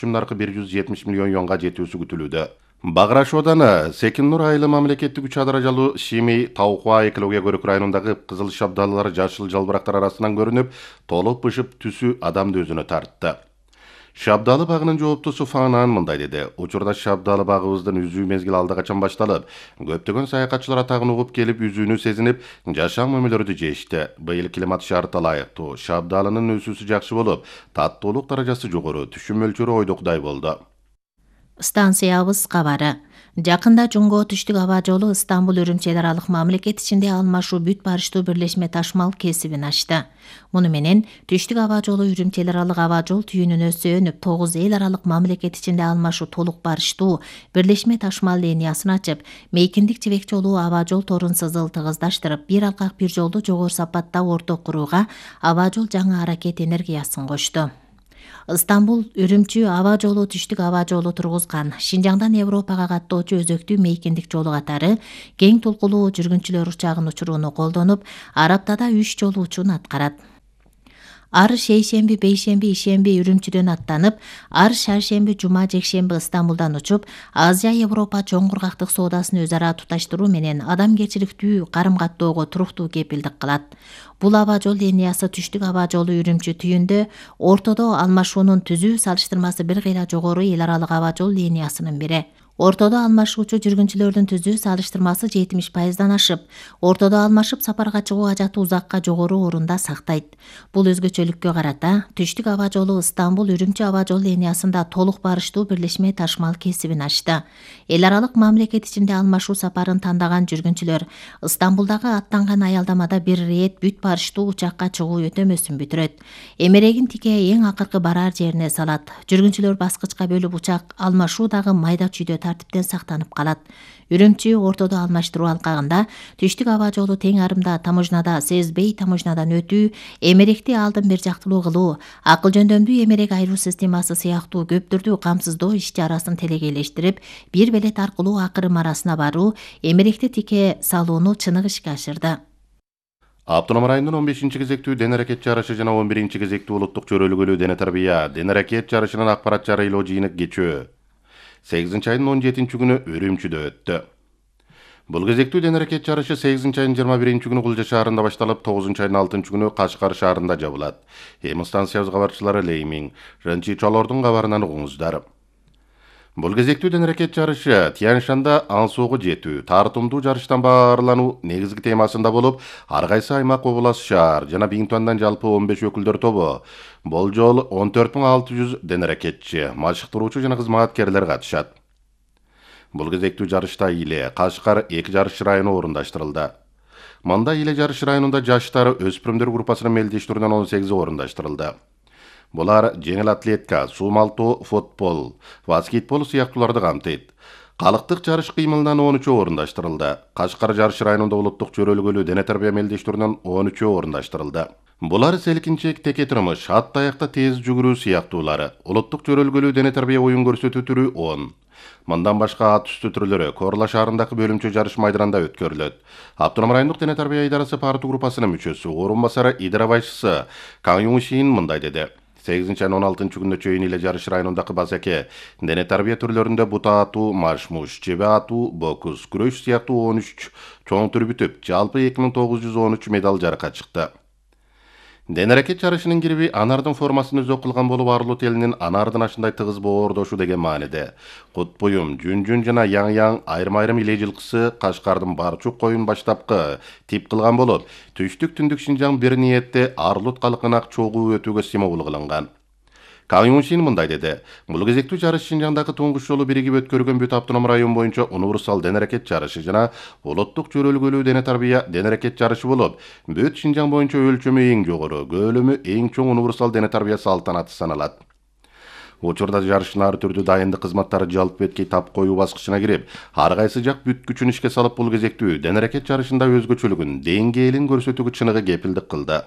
наркы 170 миллион юанга жетүүсү күтүлүүдө. Баграшоодон Секин-Нур айылы мамлекеттик 3 даражалуу Шими Таукуа экология көрүк районундагы кызыл шабдалылар жашыл жалбырактар арасынан көрүнүп, толуп бышып түсү адамды өзүнө тартты. Шабдалы багынын жооптусу Фанан мындай деди. Учурда шабдалы багыбыздын үзүү мезгил алда качан башталып, көптөгөн саякатчылар атагын угуп келип үзүүнү сезинип, жашам мөмөлөрдү жешти. Быйыл климат шарты ылайыктуу. Шабдалынын өсүүсү жакшы болуп, таттуулук даражасы жогору, түшүм мөлчөрү ойдокудай болду. Станциябыз кабары. Жакында Жунго түштүк аба жолу Стамбул Үрүмчи эл аралык мамлекет ичинде алмашуу бүт барыштуу бирлешме ташмал кесибин ачты. Муну менен түштүк аба жолу Үрүмчи эл аралык аба жол түйүнүнө сөөнүп 9 эл аралык мамлекет ичинде алмашуу толук барыштуу бирлешме ташмал линиясын ачып, Мейкиндик Жибек жолу аба жол торун сызыл тыгыздаштырып, бир алкак бир жолду жогору сапатта орток курууга аба жол жаңы аракет энергиясын кошту. Стамбул Үрүмчү аба жолу түштүк аба жолу тургузган Шинжаңдан Европага каттоочу өзөктүү Мейкиндик жолу катары кең толкулуу жүргүнчүлөр учагын учурууну колдонуп, ар аптада 3 жолу учуун аткарат. Ар шейшемби, бейшемби, ишемби Үрүмчүдөн аттанып, ар шаршемби, жума, жекшемби Стамбулдан учуп, Азия Европа чоң кургактык соодасын өз ара туташтыруу менен адамгерчиликтүү карым-каттоого туруктуу кепилдик кылат. Бул аба жол линиясы түштүк аба жолу Үрүмчү түйүндө ортодо алмашуунун түзүү салыштырмасы бир кыйла жогору эл аралык аба жол линиясынын бири. Ортодо алмашуучу жүргүнчүлөрдүн түзүү салыштырмасы 70%дан ашып, ортодо алмашып сапарга чыгуу ажаты узакка жогору орунда сактайт. Бул өзгөчөлүккө карата түштүк аба жолу Стамбул Үрүмчү аба жол линиясында толук барыштуу бирлешме ташмал кесибин ачты. Эл аралык мамлекет ичинде алмашуу сапарын тандаган жүргүнчүлөр Стамбулдагы аттанган аялдамада бир рет бүт барыштуу учакка чыгуу өтөмөсүн бүтүрөт. Эмерегин тике эң акыркы барар жерине салат. Жүргүнчүлөр баскычка бөлүп учак алмашуу дагы майда чүйдө тартиптен сактанып калат. Үрүмчү ортодо алмаштыруу алкагында түштүк аба жолу тең арымда таможнада сезбей таможнадан өтүү, эмеректи алдын бир жактылуу кылуу, акыл жөндөмдүү эмерек айруу системасы сыяктуу көптүрдүү камсыздоо иш-чарасын телегейлештирип, бир белет аркылуу акырым арасына баруу, эмеректи тике салууну чыныгы ишке ашырды. Автоном районунун 15-кезектүү дене аракет жарышы жана 11-кезектүү улуттук чөрөлгөлүү дене тарбия дене аракет жарышынын акпарат жарыйлоо жыйыны кечөө 8 айдын 17 күнү Үрүмчүдө өттү. Бул кезектүү дене аракет жарышы 8 айдын 21 күнү Кулжа шаарында башталып, 9 айдын 6 күнү Кашкар шаарында жабылат. Эми станциябыз кабарчылары Леймин, Рынчи Чолордун кабарынан угуңуздар. Бул кезектүү дене аракет жарышы Тянь-Шанда ансоого жетүү, тартымдуу жарыштан баарлануу негизги темасында болуп, ар кайсы аймак, област, шаар жана Биңтуандан жалпы 15 өкүлдөр тобу, болжол 14600 дене аракетчи, машыктыруучу жана кызматкерлер катышат. Бул кезектүү жарышта Иле, Кашкар 2 жарыш району орундаштырылды. Мында Иле жарыш районунда жаштар өспүрүмдөр группасынын мелдештүүрүнөн 18 орундаштырылды. Булар жеңил атлетика, суумалтоо, футбол, баскетбол сыяктууларды камтыйт. Калктык жарыш кыймылынан 13 орундаштырылды. Кашкар жарыш районунда улуттук чөрөлгөлүү дене тарбия мелдештүүрүнөн 13 орундаштырылды. Булар селкинчек, теке турмуш, ат таякта тез жүгүрүү сыяктуулары. Улуттук чөрөлгөлүү дене тарбия оюн көрсөтүү түрү 10. Мындан башка ат үстү түрлөрү Корла шаарындагы бөлүмчө жарыш майданында өткөрүлөт. Автоном райондук дене тарбия идарасы парту группасынын мүчөсү, орун басары идара башчысы Кан Юншин мындай деди. 8 айдын 16 күнүнө чейин Иле жарыш районундагы базаке дене тарбия түрлөрүндө бута атуу, марш-муш, чебе атуу, бокс, күрөш сыяктуу 13 чоң түр бүтүп, жалпы 2913 медаль жарыкка чыкты. Дене аракет жарышынын кириби анардын формасын өзөк кылган болуп, Арлут элинин анардын ашындай тыгыз боордошу деген мааниде. Кут буюм, жүн жана яң айрым Иле жылкысы Кашкардын Барчук коюн баштапкы тип кылган болуп, түштүк-түндүк Шинжаң бир ниетте Арлут калкына чогуу өтүүгө стимул кылынган. Кан Юншин мындай деди. Бул кезектүү жарыш Шинжаңдагы туңгуш жолу биригип өткөргөн бүт автоном район боюнча универсал дене аракет жарышы жана улуттук чөрөлгөлүү дене тарбия дене аракет жарышы болуп, бүт Шинжаң боюнча өлчөмү эң жогору, көлөмү эң чоң универсал дене тарбия салтанаты саналат. Учурда жарыштын ар түрдүү дайындык кызматтары жалпы бетке тап коюу баскычына кирип, ар кайсы жак бүт күчүн ишке салып, бул кезектүү дене аракет жарышында өзгөчөлүгүн, деңгээлин көрсөтүүгө чыныгы кепилдик кылды.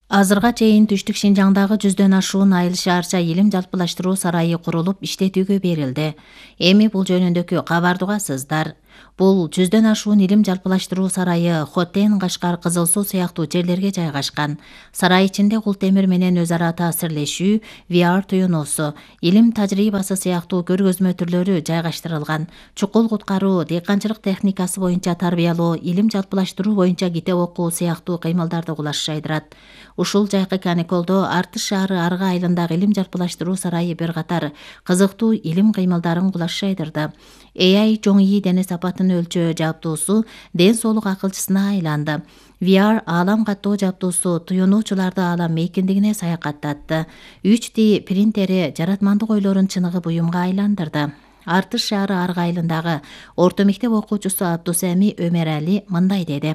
Азырга чейин түштүк Шинжаңдагы 100дөн ашуун айыл шаарча илим жалпылаштыруу сарайы курулуп иштетүүгө берилди. Эми бул жөнүндөгү кабарды угасыздар. Бул 100дөн ашуун илим жалпылаштыруу сарайы Хотен, Кашкар, Кызыл Суу сыяктуу жерлерге жайгашкан. Сарай ичинде кул темир менен өз ара таасирлешүү, VR туюнуусу, илим тажрыйбасы сыяктуу көргөзмө түрлөрү жайгаштырылган. Чукул куткаруу, дыйканчылык техникасы боюнча тарбиялоо, илим жалпылаштыруу боюнча китеп окуу сыяктуу кыймылдарды кулаш жайдырат. Ушул жайкы каникулдо Артыш шаары Арга айылындагы илим жалпылаштыруу сарайы бир катар кызыктуу илим кыймылдарын кулаш жайдырды. AI чоң ийи дене сапатын өлчөө жабдуусу ден соолук акылчысына айланды. VR аалам каттоо жабдуусу туюнуучуларды аалам мейкиндигине саякаттатты. 3D принтери жаратмандык ойлорун чыныгы буюмга айландырды. Артыш шаары Арга айылындагы орто мектеп окуучусу Абдусами Өмерали мындай деди.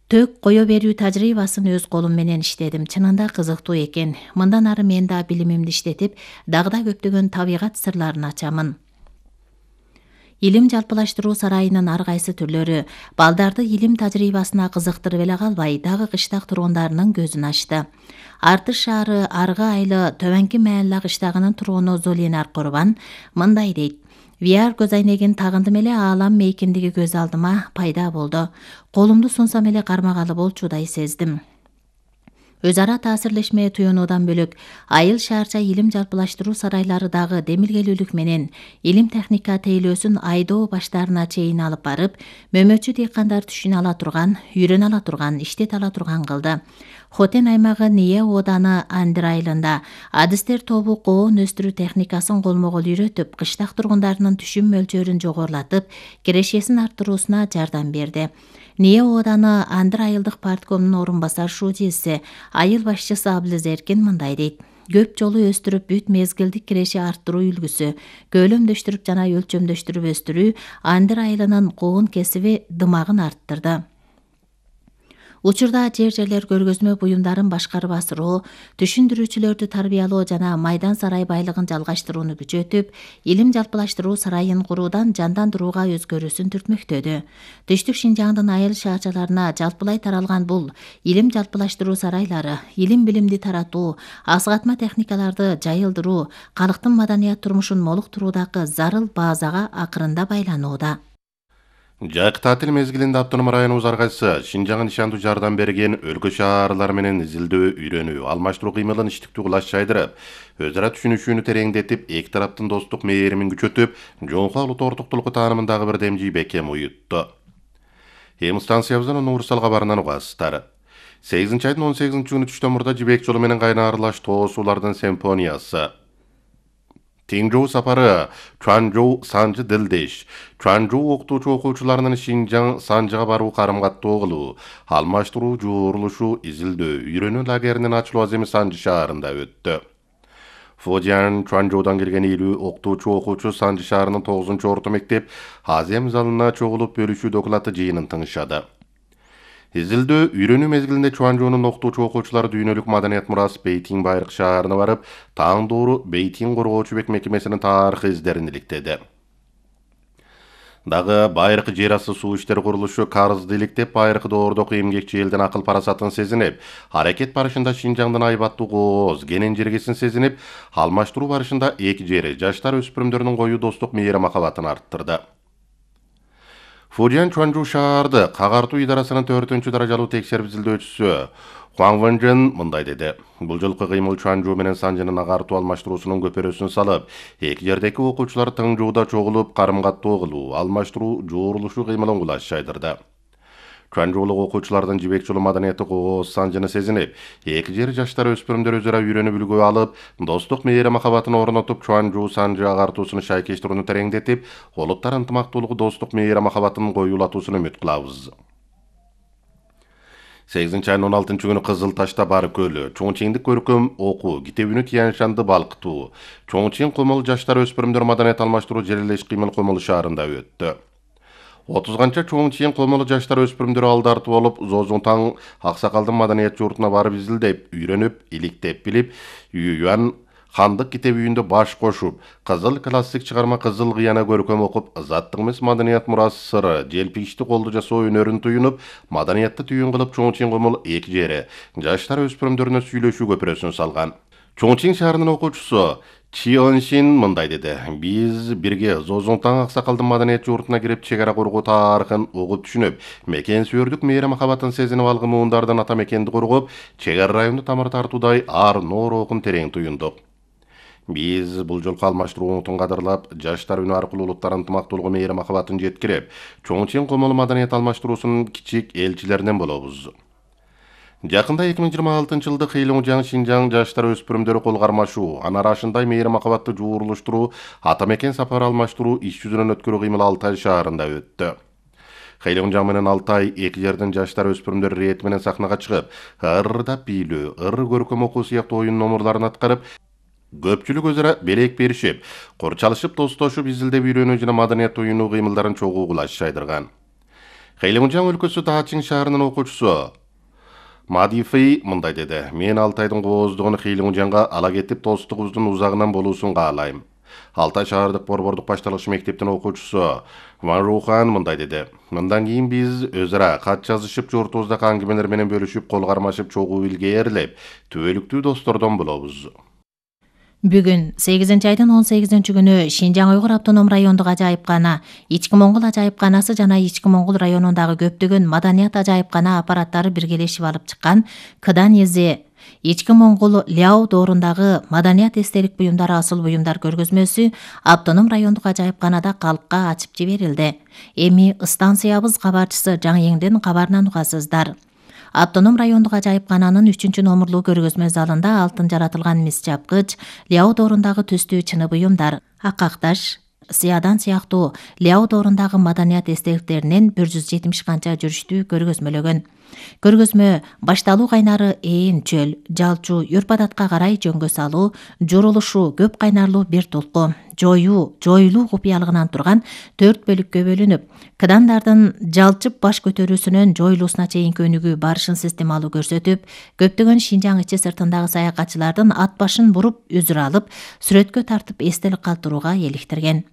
Тök кое берүү тажрыйбасын өз колум менен иштедим. Чынында кызыктуу экен. Мындан ары мен да билимимди иштетип, дагы да көптөгөн табигат сырларын ачамын. Илим жалпылаштыруу сарайынын ар кайсы түрлөрү балдарды илим тажрыйбасына кызыктырып эле калбай, дагы кыштак тургундарынын көзүн ачты. Артыш шаары Арга айылы Төбөнкү Маалла кыштагынын тургуну Зулинар Курбан мындай дейт. VR көз айнегин тагындым эле аалам мейкиндиги көз алдыма пайда болду. Колумду сунсам эле кармагалы болчудай сездим. Өз ара таасирлешме туюнуудан бөлөк, айыл шаарча илим жалпылаштыруу сарайлары дагы демилгелүүлүк менен илим техника тейлөөсүн айдоо баштарына чейин алып барып, мөмөчү дыйкандар түшүнө ала турган, үйрөнө ала турган, иштете ала турган кылды. Хотен аймагы Ния ооданы Андыр айылында адистер тобу коон өстүрүү техникасын колмо-кол үйрөтүп, кыштак тургундарынын түшүм мөлчөрүн жогорулатып, кирешесин арттыруусуна жардам берди. Ния ооданы Андыр айылдык парткомунун орун басар шуудиси, айыл башчысы Аблиз Эркин мындай дейт. Көп жолу өстүрүп бүт мезгилдик киреше арттыруу үлгүсү, көлөмдөштүрүп жана өлчөмдөштүрүп өстүрүү Андыр айылынын коон кесиби дымагын арттырды. Учурда жер-жерлер көргөзмө буюмдарын башкарып асыруу, түшүндүрүүчүлөрдү тарбиялоо жана майдан сарай байлыгын жалгаштырууну күчөтүп, илим жалпылаштыруу сарайын куруудан жандандырууга өзгөрүүсүн түртмөктөдү. Түштүк Шинжаңдын айыл шаарчаларына жалпылай таралган бул илим жалпылаштыруу сарайлары илим билимди таратуу, асгатма техникаларды жайылдыруу, калктын маданият турмушун молуктуруудагы зарыл баазага акырында байланууда. Жайкы таатил мезгилинде автоном районубуз ар кайсы Шинжаңга нишандуу жардам берген өлкө шаарлары менен изилдөө, үйрөнүү, алмаштыруу кыймылын иштиктүү кылаш жайдырып, өз ара түшүнүшүүнү тереңдетип, эки тараптын достук мээримин күчөтүп, жоңку улут ортуктулугу таанымындагы бир демжий бекем уютту. Эми станциябыздын универсал кабарынан угасыздар. 8-айдын 18-күнү түштөн мурда Жибек жолу менен кайнарлаш тоо суулардын симфониясы Теңжоу сапары, Чуанжоу Санжы Дилдеш, Чуанжоу окутуучу окуучуларынын Шинжаң Санжыга баруу карым-каттоо кылуу, алмаштыруу, жуурулушуу, изилдөө, үйрөнүү лагеринин ачылуу аземи Санжы шаарында өттү. Фодиан Чуанжоудан келген 50 окутуучу окуучу Санжы шаарынын 9-орто мектеп азем залына чогулуп бөлүшүү доклады жыйынын тыңшады. Изилдөө, үйрөнүү мезгилинде Чуанжоунун окутуучу окуучулары дүйнөлүк маданият мурасы Бейтин байыркы шаарына барып, таандоору Бейтин коргоочу бек мекемесинин тарыхый издерин иликтеди. Дагы байыркы жер асты суу иштери курулушу карызды иликтеп, байыркы доордоку эмгекчи элдин акыл парасатын сезинип, аракет барышында Шинжаңдын айбаттуу кооз, кенен жергесин сезинип, алмаштыруу барышында эки жери жаштар өспүрүмдөрүнүн коюу достук мейри махабатын арттырды. Фудиан Чуанжоу шаарды кагартуу идарасынын 4-даражалуу текшерип изилдөөчүсү Хуан Вэнжэн мындай деди. Бул жолку кыймыл Чуанжоу менен Санжынын агартуу алмаштыруусунун көпөрөсүн салып, эки жердеки окуучулар Тыңжууда чогулуп карым-каттоо кылуу, алмаштыруу, жуурулушуу кыймылын кулаш жайдырды. Чуанжоулук окуучулардын Жибек жолу маданияты кооз Санжыны сезинип, эки жери жаштар өспүрүмдөр өзара үйрөнүп үлгү алып, достук мээри махабатын орнотуп, Чуанжоу Санжы агартуусунун шайкештирүүнү тереңдетип, улуттар ынтымактуулугу достук мээри махабатын коюулатуусун үмүт кылабыз. 8-айдын 16-күнү Кызыл Ташта бар көлү, Чоңчиңдик көркөм окуу, китебүнү Тияншанды балкытуу, Чоңчиң Комол жаштар өспүрүмдөр маданият алмаштыруу жерелеш кыймыл Комол шаарында өттү. 30-канча Чоңчиң Комол жаштар өспүрүмдөр алдарты болуп, Зозунтаң Аксакалдын маданият журтуна барып изилдеп, үйрөнүп, иликтеп билип, Юан Хандык китеп үйүндө баш кошуп, кызыл классик чыгарма Кызыл кыяна көркөм окуп, заттык эмес маданият мурасы сыры, желпигичти колду жасоо өнөрүн туюнуп, маданиятты түйүн кылып Чоңчиң Комол эки жери жаштар өспүрүмдөрүнө сүйлөшүү көпүрөсүн салган. Чоңчиң шаарынын окуучусу Чионшин мындай деди. Биз бирге Зозуңтаң аксакалдын маданият журтуна кирип чек ара коргоо тарыхын угуп түшүнүп, мекен сүйөрдүк мээри махабатын сезинип алган муундардан ата мекенди коргоп, чек ара районду тамыр тартуудай ар ноорокун терең туюндук. Биз бул жолку алмаштыруу унутун кадырлап, жаштар үнү аркылуу улуттар ынтымактуулугу мээри махабатын жеткирип, чоң комолу маданият алмаштыруусунун кичик элчилеринен болобуз. Жакында 2026-жылды Хэйлоңжаң Шинжаң жаштар өспүрүмдөрү кол кармашуу, аны арашындай мээри махабатты жуурулуштуруу, ата мекен сапар алмаштыруу иш жүзүнөн өткөрүү кыймыл Алтай шаарында өттү. Хэйлоңжаң менен Алтай эки жердин жаштар өспүрүмдөр ирети менен сахнага чыгып, ырдап бийлөө, ыр көркөм окуу сыяктуу оюн номурларын аткарып, көпчүлүк өзара белек беришип, корчалышып, достошуп, изилдеп үйрөнүү жана маданият оюнуу кыймылдарын чогуу кулаш жайдырган. Хэйлоңжаң өлкөсү Даачиң шаарынын окуучусу Мадифей мындай деди. Мен Алтайдын кооздугуну Хэйлоңжаңга ала кетип, достугубуздун узагынан болуусун каалайм. Алтай шаардык борбордук башталгыч мектептин окуучусу Ван Рухан мындай деди. Мындан кийин биз өзара кат жазышып, журтубуздагы аңгемелер менен бөлүшүп, кол кармашып, чогуу илгээрлеп, түбөлүктүү достордон болобуз. Бүгүн 8-айдын 18-күнү Шинжаң Уйгур автоном райондук ажайыпкана, Ички Моңгол ажайыпканасы жана Ички Моңгол районундагы көптөгөн маданият ажайыпкана аппараттары биргелешип алып чыккан Кыдан Эзе Ички Моңгол Ляо доорундагы маданият эстелик буюмдары асыл буюмдар көргөзмөсү автоном райондук ажайыпканада калкка ачып жиберилди. Эми станциябыз кабарчысы Жаң кабарынан угасыздар. Автоном райондук ажайыпкананын 3-номурлуу көргөзмө залында алтын жаратылган мис чапкыч, Ляо доорундагы түстүү чыны буюмдар, акакташ, сыядан сыяктуу Ляо доорундагы маданият эстеликтеринен 170 канча жүрүштүү көргөзмөлөгөн. Көргөзмө башталуу кайнары ээн чөл, жалчу юрпадатка карай жөнгө салуу, журулушу көп кайнарлуу бир толку, жоюлуу купуялыгынан турган 4 бөлүккө бөлүнүп, кыдандардын жалчып баш көтөрүүсүнөн жоюлуусуна чейинки өнүгүү барышын системалуу көрсөтүп, көптөгөн Шинжаң ичи сыртындагы саякатчылардын ат башын буруп, үзүр алып, сүрөткө тартып эстелик калтырууга эликтирген.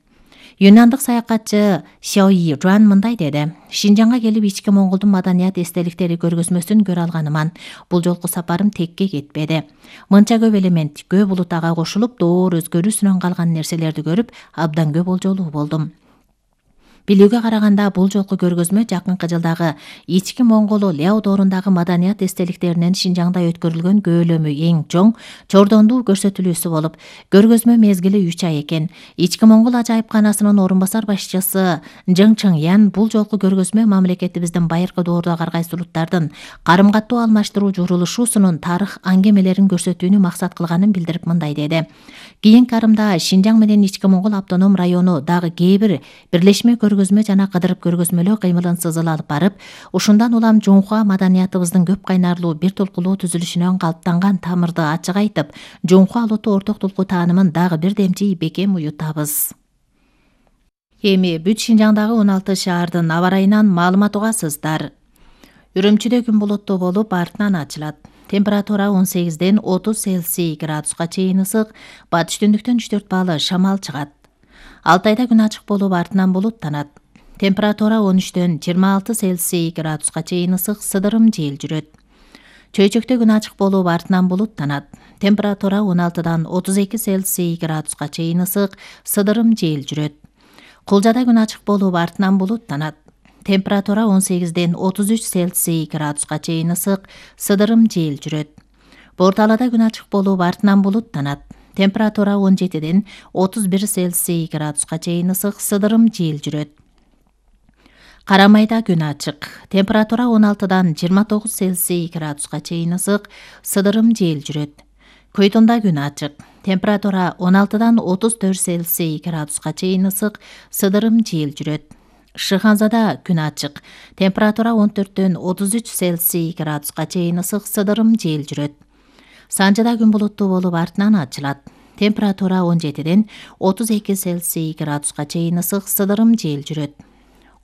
Юнандык саякатчы Сяои Жуан мындай деди. Шинжаңга келип Ички Моңголдун маданият эстеликтери көргөзмөсүн көрө алганыман. Бул жолку сапарым текке кетпеди. Мынча көп элемент, көп улут ага кошулуп, доор өзгөрүүсүнөн калган нерселерди көрүп, абдан көп болжолуу болдум. Билүүгө караганда бул жолку көргөзмө жакынкы жылдагы Ички Моңгол Ляо доорундагы маданият эстеликтеринен Шинжаңда өткөрүлгөн көөлөмү эң чоң, чордондуу көрсөтүлүүсү болуп, көргөзмө мезгили 3 ай экен. Ички Моңгол ажайыпканасынын орун басар башчысы Жың Чыңян бул жолку көргөзмө мамлекетибиздин байыркы доордогу ар кайсы улуттардын карым каттуу алмаштыруу журулушуусунун тарых аңгемелерин көрсөтүүнү максат кылганын билдирип мындай деди. Кийинки арымда Шинжаң менен Ички Моңгол автоном району дагы кээ бир бирлешме көргөзмө жана кыдырып көргөзмөлөө кыймылын сызыл алып барып, ушундан улам Жунхуа маданиятыбыздын көп кайнарлуу бир толкулуу түзүлүшүнөн калыптанган тамырды ачык айтып, Жунхуа улуттуу орток толку таанымын дагы бир демчи бекем уютабыз. Эми бүт Шинжаңдагы 16 шаардын аба ырайынан маалымат угасыздар. Үрүмчүдө күн булуттуу болуп, артынан ачылат. Температура 18-ден 30 Цельсий градуска чейин ысык, батыш түндүктөн 3-4 балл шамал чыгат. Алтайда күн ачык болуп, артынан булуттанат. Температура 13-дөн 26 Цельсий градуска чейин ысык, сыдырым жел жүрөт. Чөйчөктө күн ачык болуп, артынан булуттанат. Температура 16-дан 32 Цельсий градуска чейин ысык, сыдырым жел жүрөт. Кулжада күн ачык болуп, артынан булуттанат. Температура 18-ден 33 Цельсий градуска чейин ысык, сыдырым жел жүрөт. Борталада күн ачык болуп, артынан булуттанат. Температура 17-ден 31 Цельсий градуска чейин ысык, сыдырым жел жүрөт. Карамайда күн ачык. Температура 16-дан 29 Цельсий градуска чейин ысык, сыдырым жел жүрөт. Көйтүндө күн ачык. Температура 16-дан 34 Цельсий градуска чейин ысык, сыдырым жел жүрөт. Шыханзада күн ачык. Температура 14-дөн 33 Цельсий градуска чейин ысык, сыдырым жел жүрөт. Санжыда күн булуттуу болуп, артынан ачылат. Температура 17-ден 32 Цельсий градуска чейин ысык, сыдырым жел жүрөт.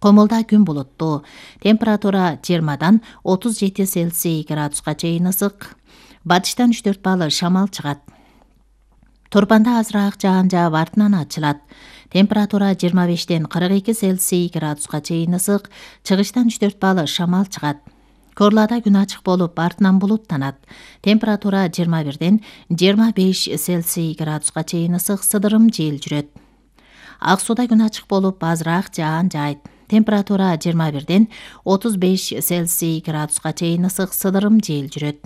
Комулда күн булуттуу. Температура 20-дан 37 Цельсий градуска чейин ысык. Батыштан 3-4 балл шамал чыгат. Турпанда азыраак жаан жаап, артынан ачылат. Температура 25-ден 42 Цельсий градуска чейин ысык, чыгыштан 3-4 балл шамал чыгат. Корлада күн ачык болуп, артынан булуттанат. Температура 21-ден 25 Цельсий градуска чейин ысык сыдырым жел жүрөт. Ак Сууда күн ачык болуп, азыраак жаан жайт. Температура 21-ден 35 Цельсий градуска чейин ысык сыдырым жел жүрөт.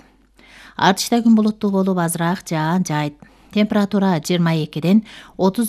Артышта күн булуттуу болуп, азыраак жаан жайт. Температура 22-ден 33